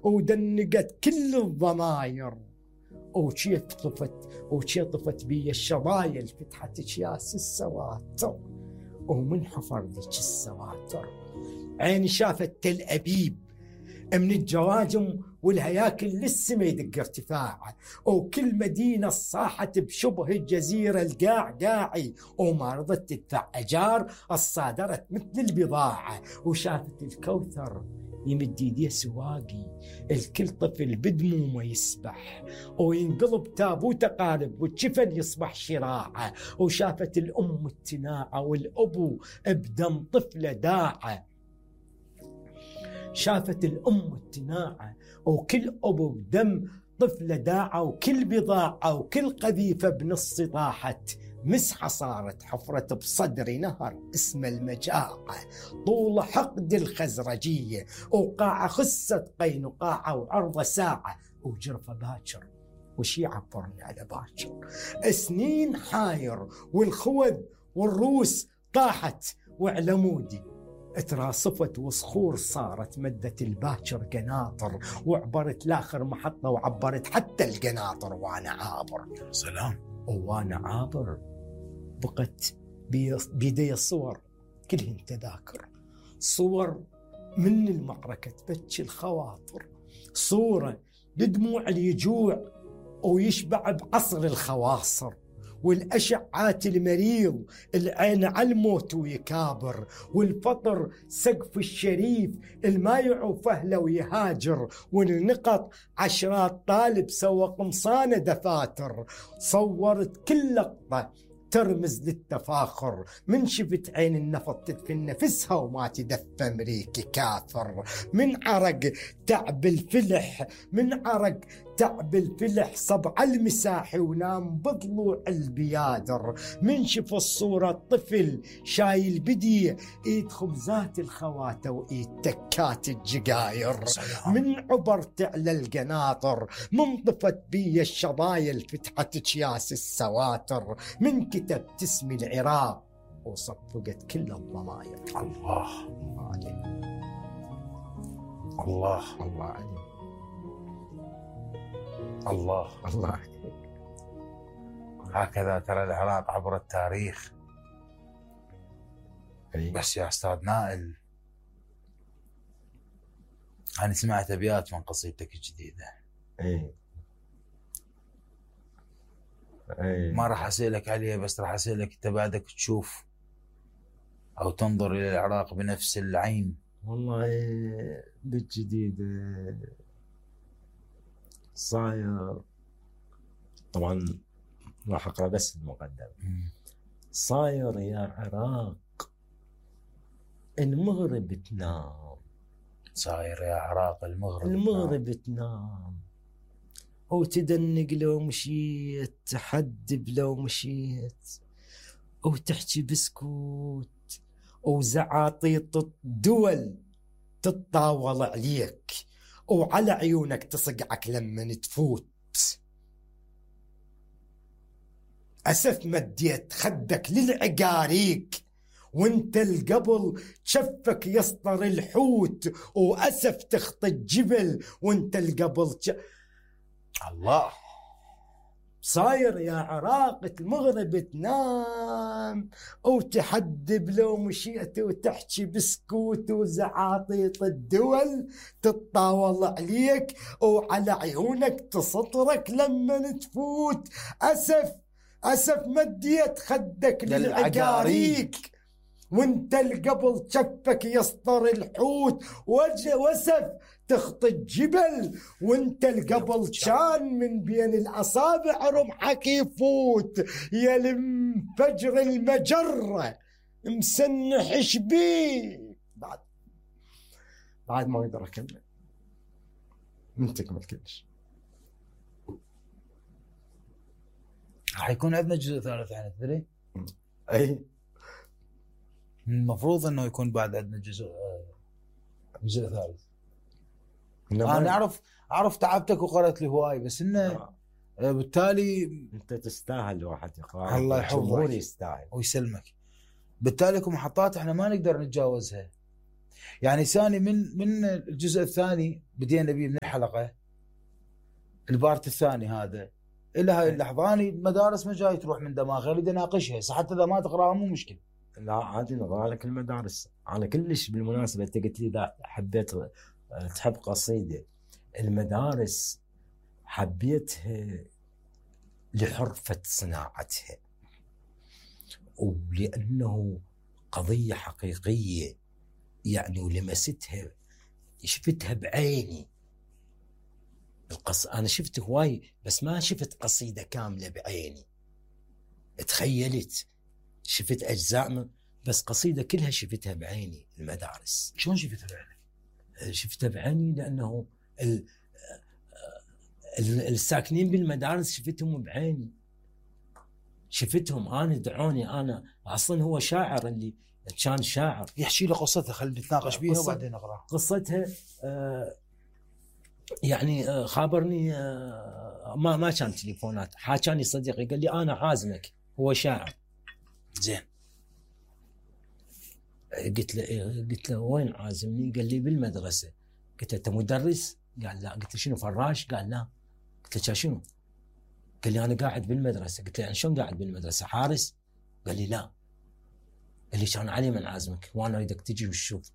ودنقت كل الضماير، وشي طفت بي الشظايل، فتحت اكياس السواتر، ومن حفر ذيك السواتر عيني شافت تل أبيب من الجواجم والهياكل للسما يدق ارتفاعه، وكل مدينة صاحت بشبه الجزيرة القاع قاعي، وما رضت تدفع أجار الصادرت مثل البضاعة، وشافت الكوثر يمد يديه سواقي، الكل طفل بدمومه يسبح وينقلب تابوته قارب، والجفن يصبح شراعه، وشافت الأم التناعة والأبو بدم طفله داعه، شافت الأم التناعة وكل أبو بدم طفله داعة، وكل بضاعة وكل قذيفة بنص طاحت، مسحة صارت حفرة بصدر نهر اسم المجاعة، طول حقد الخزرجية، وقاعة خست قينقاعة، وعرضة ساعة، وجرفة باكر، وشي عبرني على باكر، سنين حاير والخوذ والروس طاحت، وعلى مودي اتراصفت وصخور صارت، مدت الباكر قناطر، وعبرت لاخر محطة، وعبرت حتى القناطر وانا عابر. سلام. وانا عابر بقت بيدي الصور كلهن تذاكر، صور من المعركة تبكي الخواطر، صورة لدموع اليجوع ويشبع بعصر الخواصر، والأشعات المريض العين على الموت ويكابر، والفطر سقف الشريف المايع وفهله ويهاجر، والنقط عشرات طالب سوى قمصانه دفاتر، صورت كل لقطة ترمز للتفاخر، من شفت عين النفط تدفن نفسها وما تدفى أمريكي كافر، من عرق تعب الفلح، من عرق تعب الفلح صبع المساحي، ونام بضلوع البيادر، من شف الصورة طفل شايل بدي ايد خبزات الخواتة وايد تكات الجقاير، من عبرت على القناطر، من طفت بي الشظايل فتحت اكياس السواتر، من كتبت اسم العراق وصفقت كل الضماير. الله الله عليك، الله الله عليك، الله الله عليك. هكذا ترى العراق عبر التاريخ. بس يا أستاذ نائل، أنا سمعت أبيات من قصيدتك الجديدة. ما راح أسألك عليها، بس راح أسألك أنت بعدك تشوف أو تنظر إلى العراق بنفس العين؟ والله بالجديد صاير، طبعا راح أقرأ بس المقدمة. صاير يا عراق المغرب تنام، صاير يا عراق المغرب تنام، وتدنق لو مشيت، تحدب لو مشيت، وتحكي بسكوت، وزعاطيط الدول تتطاول عليك، وعلى عيونك تصقعك لما تفوت. أسف مديت خدك للعقاريك، وانت القبل شفك يسطر الحوت، وأسف تخطي الجبل وانت القبل الله. صاير يا عراق المغرب تنام، وتحدب لو مشيت، وتحكي بسكوت، وزعاطيط الدول تتطاول عليك، وعلى عيونك تسطرك لما تفوت. أسف مديت خدك للعقاريك، وانت القبل شفك يسطر الحوت، وسف تخطي الجبل، وانت القبل كان من بين الأصابع رمحك يفوت. يا المفجر المجرة مسنح شبيك. بعد ما اقدر اكمل من تكمل كلش. راح يكون عندنا جزء ثالث عن تدري؟ اي المفروض انه يكون بعد عندنا جزء ثالث. انا اعرف تعبتك وقرأت لي هواي، بس انه بالتالي انت تستاهل واحد يقرأ. الله يحفظك يستاهل ويسلمك. بالتالي محطات احنا ما نقدر نتجاوزها، يعني ثاني من الجزء الثاني بدينا به من الحلقه البارت الثاني هذا الى هاي اللحظه انا المدارس ما جاي تروح من دماغي، اريد اناقشها حتى اذا ما تقراها مو مشكله. لا عادي نقرا لك المدارس. انا كلش بالمناسبه انت قلت لي اذا حبيت تحب قصيده، المدارس حبيتها لحرفه صناعتها ولانه قضيه حقيقيه يعني، ولمستها شفتها بعيني. انا شفت هواي بس ما شفت قصيده كامله بعيني، تخيلت شفت اجزاء بس قصيده كلها شفتها بعيني. المدارس شلون شفتها بعيني؟ شفتها بعيني لانه الساكنين بالمدارس شفتهم بعيني، شفتهم انا، دعوني انا. اصلا هو شاعر اللي كان شاعر، يحكي لي قصتها خلينا نتناقش بيها وبعدين نقراها. قصتها يعني خابرني ما كان تليفونات، حاجاني صديقي قال لي انا عازمك، هو شاعر. زين قلت له وين عازمني؟ قال لي بالمدرسه. قلت له انت مدرس؟ قال لا. قلت له شنو فراش؟ قال لا. قلت له شنو؟ قال لي انا قاعد بالمدرسه. قلت له يعني شلون قاعد بالمدرسه؟ حارس؟ قال لي لا. قال لي كان علي من عازمك وانا اريدك تجي وتشوف.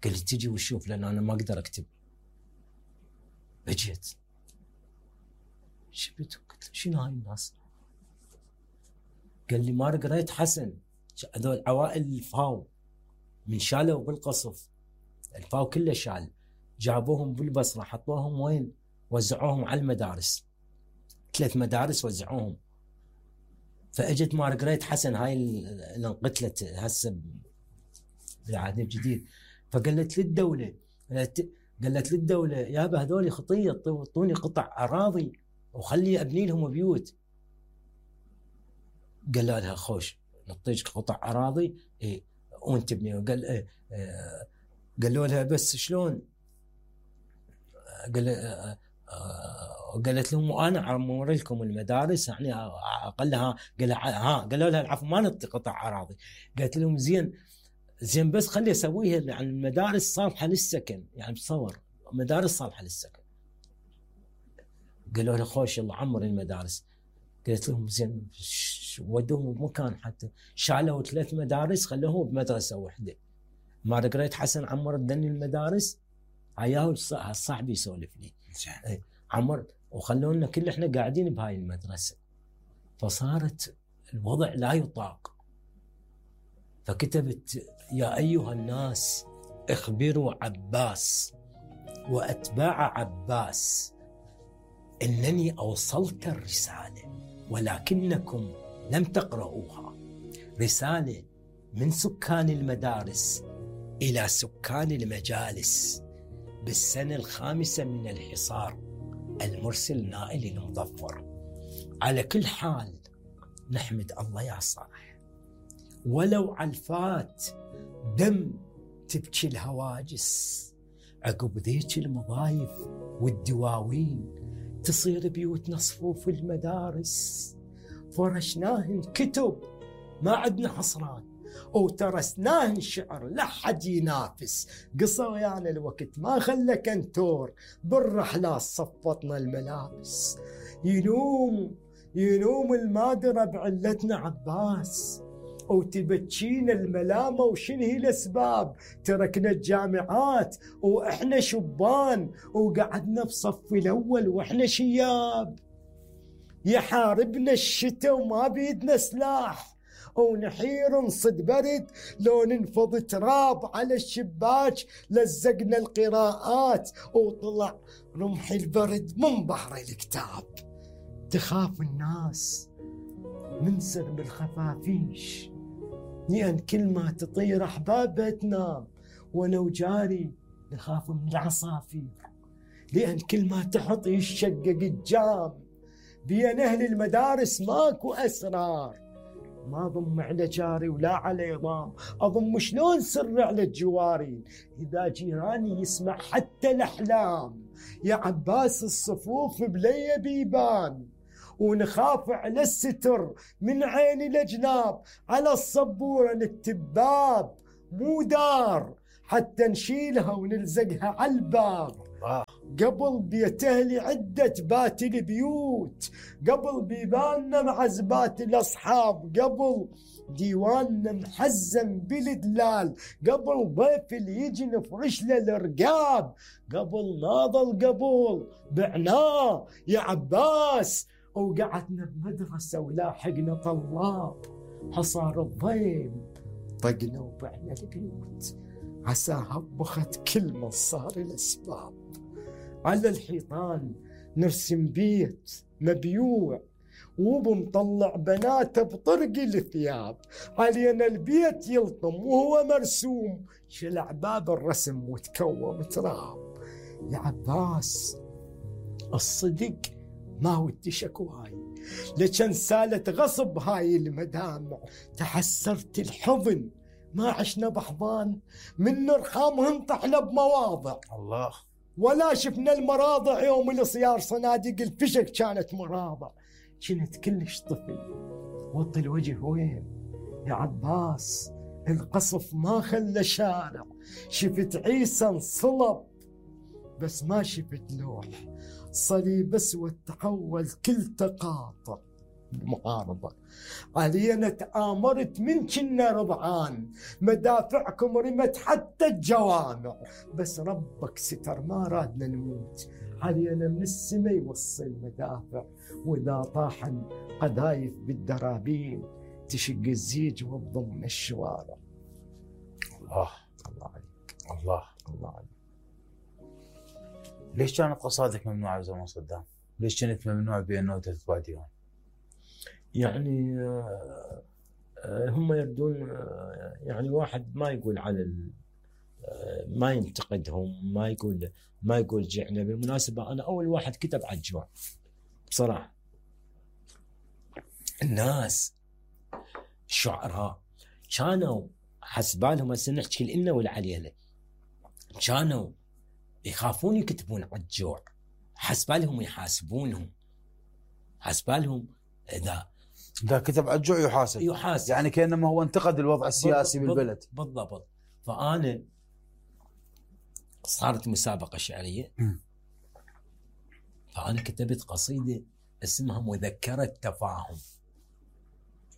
قال لي تجي وتشوف لان انا ما اقدر اكتب. اجيت شفت قلت له شنو هاي الناس؟ قال لي ما قريت حسن هذول عوائل الفاو من شالوا بالقصف، الفاو كله شال، جابوهم بالبصره حطوهم وين؟ وزعوهم على المدارس، 3 مدارس وزعوهم. فاجت مارغريت حسن هاي اللي انقتلت هسه بالعهد الجديد، فقالت للدوله يابا هذول خطيه، اعطوني قطع اراضي وخلي ابني لهم بيوت. قال لها خوش نعطيك قطع اراضي اي وانت تبني. قالوا لها بس شلون؟ قالت لهم وانا عمور لكم المدارس يعني اقلها. قالوا لها العفو ما نعطي قطع اراضي. قالت لهم زين بس خلي اسويها يعني المدارس صالحه للسكن، يعني تصور مدارس صالحه للسكن. قالوا لها خوش يلا عمر المدارس. قالت لهم زين ودوهم بمكان، حتى شالوا 3 مدارس خلوهم بمدرسه واحده. مارغريت حسن عمرت دني المدارس، عياه صاحبي يسولف لي عمر وخلونا كل احنا قاعدين بهاي المدرسه. فصارت الوضع لا يطاق، فكتبت يا ايها الناس اخبروا عباس واتباع عباس انني اوصلت الرساله ولكنكم لم تقرؤوها. رساله من سكان المدارس الى سكان المجالس بالسنه ال5 من الحصار، المرسل نائل المظفر. على كل حال نحمد الله يا صالح، ولو علفات دم تبكي الهواجس، عقب ذيك المضايف والدواوين تصير بيوتنا صفوف المدارس. فرشناهن كتب ما عندنا حصران، وترسناهن شعر لا حد ينافس. قصر يعني الوقت ما خلى كنتور، بالرحلات صفطنا الملابس. ينوم المادرة بعلتنا عباس، وتبكينا الملامة وشنو هي الأسباب. تركنا الجامعات وإحنا شبان، وقعدنا بصف الأول وإحنا شياب. يحاربنا الشتاء وما بيدنا سلاح، ونحير نصد برد لو ننفض تراب على الشباك. لزقنا القراءات وطلع رمح البرد من بحر الكتاب. تخاف الناس من سرب الخفافيش، لأن كل ما تطير أحبابها تنام. وانا وجاري نخاف من العصافير، لأن كل ما تحط يشقق الجام. بين أهل المدارس ماكو أسرار، ما ضم على جاري ولا على ضام. أضم شلون سر على الجوارين إذا جيراني يسمع حتى الأحلام. يا عباس الصفوف بلي بيبان، ونخاف على الستر من عين الأجناب. على الصبورة نكتب باب مو دار حتى نشيلها ونلزقها على الباب. قبل بيت أهلي عدة بات البيوت، قبل بيباننا معزبات الأصحاب، قبل ديواننا محزن بالدلال، قبل ضيف اللي يجي نفرش له الرقاب، قبل ناضل قبل بعناه يا عباس، وقعدنا بمدرسة ولاحقنا طلاب، حصار الضيم طقنا وبعنا البيوت، عساها بخت كل من صار الأسباب. على الحيطان نرسم بيت مبيوع وبنطلع بناته بطرق الثياب، علينا البيت يلطم وهو مرسوم، شلع باب الرسم وتكوم تراب. يا عباس الصدق ما ودي شكواي، لكن سالت غصب هاي المدامع، تحسرت الحضن ما عشنا بحضان، من نرخامهن طحنا بمواضع الله، ولا شفنا المراضع يوم الصيار، صناديق الفشك كانت مراضع، كنت كلش طفل وطي الوجه وين يا عباس، القصف ما خلى شارع، شفت عيسى انصلب بس ما شفت لوح، صليب اسود تحول كل تقاطع معارضة، علينا تآمرت من كنا رضعان، مدافعكم رمت حتى الجوامع، بس ربك ستر ما رادنا نموت، علينا من السما يوصي المدافع، وإذا طاحن قذايف بالدرابين تشق الزيج وتضم الشوارع. الله الله عليك، الله الله عليك. ليش كانت قصائدك ممنوعة بزمن صدام؟ ليش كانت ممنوعة بأنه تتباع ديوان؟ يعني هم يردون يعني واحد ما يقول على ما ينتقدهم، ما يقول جعنا. بالمناسبة أنا أول واحد كتب على الجوع بصراحة. الناس الشعراء كانوا حسبالهم، هسه نحكي الإنه والعليلة، كانوا يخافون يكتبون على الجوع، حسبالهم يحاسبونهم، حسبالهم إذا كتب على الجوع يحاسب يعني كأنما هو انتقد الوضع السياسي بالبلد. بالضبط. فأنا صارت مسابقة شعرية، فأنا كتبت قصيدة اسمها مذكرة تفاهم.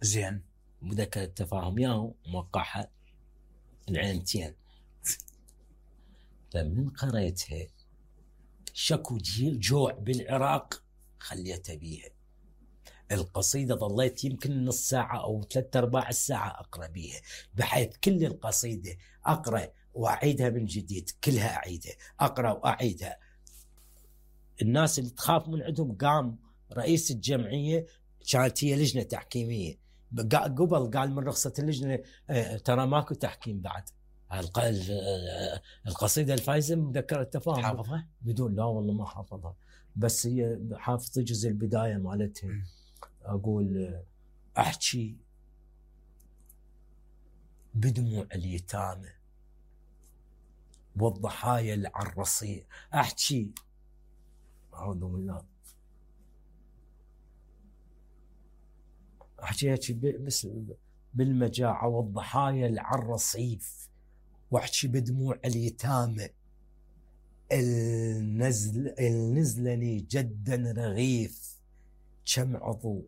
زين، مذكرة تفاهم ياهو موقعها العينتين، فمن قريتها شكو جوع بالعراق خليتها بيها. القصيدة ظليت يمكن نص ساعة أو 3/4 الساعة أقرأ بيها، بحيث كل القصيدة أقرأ وأعيدها من جديد، كلها أعيدها، أقرأ وأعيدها. الناس اللي تخاف من عندهم، قام رئيس الجمعية، كانت هي لجنة تحكيمية، قبل قال من رخصة اللجنة ترى ماكو تحكيم بعد. القصيدة الفايزة مذكرة تفاهم حافظها؟ بدون، لا والله ما حافظها، بس هي حافظ جزء البداية مالتها. أقول أحكي بدموع اليتامى والضحايا العرصية، أحكي أعوذ بالله، أحكي بس بالمجاعة والضحايا العرصيف، وأحكي بدموع اليتامى النزلني جدا رغيف، كم عضو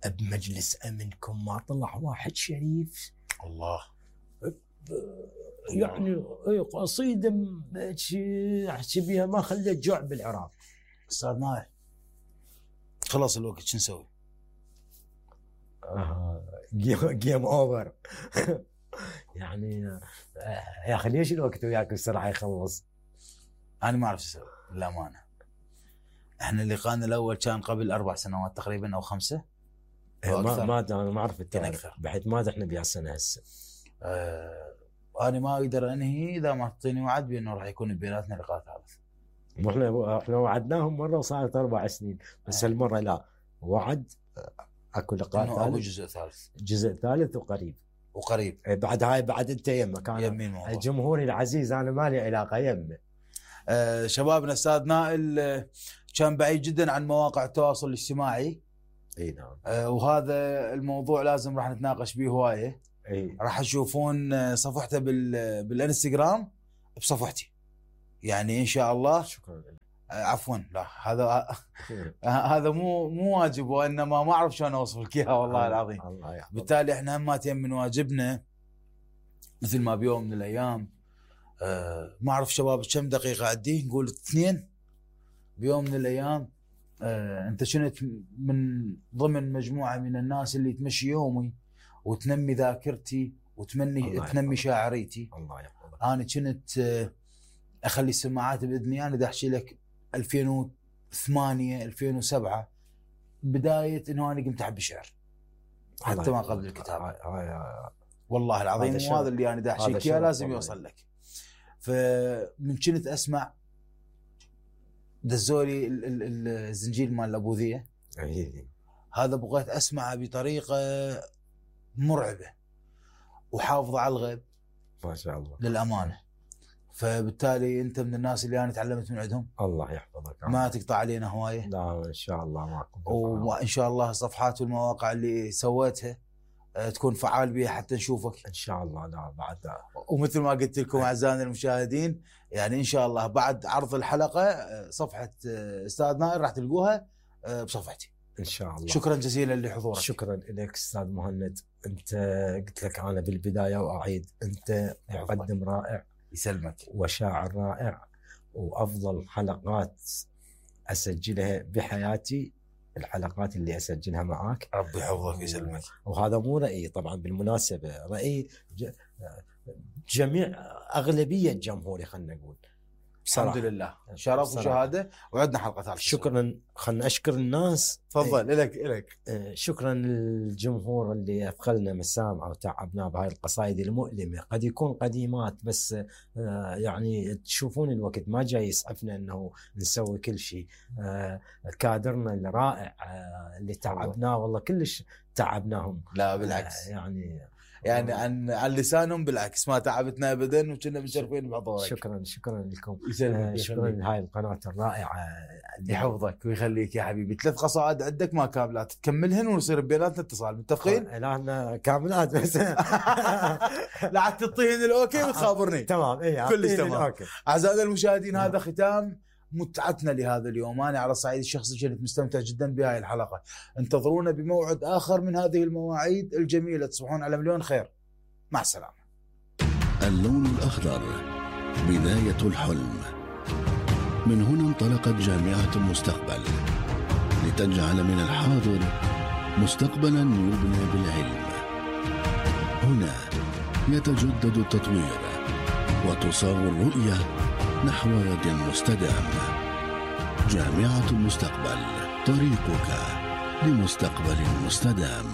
بمجلس أمنكم ما طلع واحد شريف. الله، يعني قصيدة أحكي بيها ما خليت جوع بالعراق. أستاذ نايل خلص الوقت، شو نسوي؟ جيم أوفر. يعني يا أخي ليش الوقت وياك بسرعة يخلص؟ أنا ما أعرف أسوي للأمانة. إحنا اللقاءنا الأول كان قبل 4 سنوات تقريبا أو 5. ما أنا ما أعرف التاريخ، بحيث ما إحنا بيا سنة هسه. أنا ما أقدر أنهي إذا ما تعطيني وعد بأنه راح يكون بيناتنا لقاء ثالث. إحنا وعدناهم مرة وصارت 4 سنين، بس هالمرة لا، وعد أكو لقاء ثالث، أكو جزء ثالث وقريب. بعد هاي بعد أنت يمك، أنا جمهوري العزيز أنا مالي علاقة يمه. شبابنا أستاذ نائل كان بعيد جدا عن مواقع التواصل الاجتماعي. اي نعم. وهذا الموضوع لازم راح نتناقش به هوايه. راح يشوفون صفحته بالانستغرام بصفحتي يعني ان شاء الله. شكرا لك. عفوا لا هذا مو واجب، وانما ما اعرف شلون اوصف لك اياها والله العظيم. بالتالي احنا هماتين من واجبنا مثل ما بيوم من الايام ما اعرف شباب كم دقيقه عندي، نقول 2 بيوم من الايام انت كنت من ضمن مجموعه من الناس اللي تمشي يومي وتنمي ذاكرتي تنمي شاعريتي. الله يحفظك. انا كنت اخلي السماعات باذني، انا دا احكي لك 2008 2007 بدايه انه انا قمت احب الشعر حتى ما قبل الكتابه. والله العظيم وهذا اللي انا دا احكي لك لازم يوصل لك. فمن كنت اسمع دزولي الزنجيل مال الابوذيه هذا بغيت اسمعه بطريقه مرعبه وحافظه على الغيب ما شاء الله للامانه. فبالتالي انت من الناس اللي انا تعلمت من عندهم. الله يحفظك. ما تقطع علينا هوايه. لا ان شاء الله معكم. وان شاء الله الصفحات والمواقع اللي سويتها تكون فعال بها حتى نشوفك ان شاء الله. لا بعد ومثل ما قلت لكم اعزائنا المشاهدين يعني ان شاء الله بعد عرض الحلقه صفحه استاذ نائر راح تلقوها بصفحتي ان شاء الله. شكرا جزيلا لحضورك. شكرا لك استاذ مهند. انت قلت لك انا بالبدايه واعيد انت مقدم رائع يسلمك وشاعر رائع، وافضل حلقات اسجلها بحياتي الحلقات اللي اسجلها معاك. ربي يحفظك ويسلمك. وهذا مو رايي طبعا، بالمناسبه راي جميع اغلبيه جمهوري خلينا نقول. الحمد لله شرف وشهاده. وعندنا حلقه ثالثه. شكرا. خلنا اشكر الناس. تفضل. لك شكرا للجمهور اللي اثقلنا مسامعه وتعبنا بهاي القصائد المؤلمه، قد يكون قديمات بس يعني تشوفون الوقت ما جاي يسعفنا انه نسوي كل شيء. كادرنا الرائع اللي تعبناه والله كلش تعبناهم. لا بالعكس يعني عن لسانهم بالعكس ما تعبتنا ابدا وكنا مشرفين بحضورك. شكرا لكم. شكرا لهاي القناه الرائعه. يحفظك ويخليك يا حبيبي. 3 قصائد عندك ما كاملات تكملهن ونصير بيناتنا اتصال. متفقين؟ لا كاملات بس لا عاد تعطيهن الاوكي وتخابرني. تمام. كلش تمام. اعزائنا المشاهدين هذا ختام متعتنا لهذا اليوم. أنا على الصعيد الشخصي كنت مستمتع جدا بهاي الحلقة. انتظرونا بموعد آخر من هذه المواعيد الجميلة. تصبحون على مليون خير. مع السلامة. اللون الأخضر بداية الحلم. من هنا انطلقت جامعة المستقبل لتجعل من الحاضر مستقبلا يبنى بالعلم. هنا يتجدد التطوير وتصاغ الرؤية نحو غد مستدام. جامعة المستقبل، طريقك لمستقبل مستدام.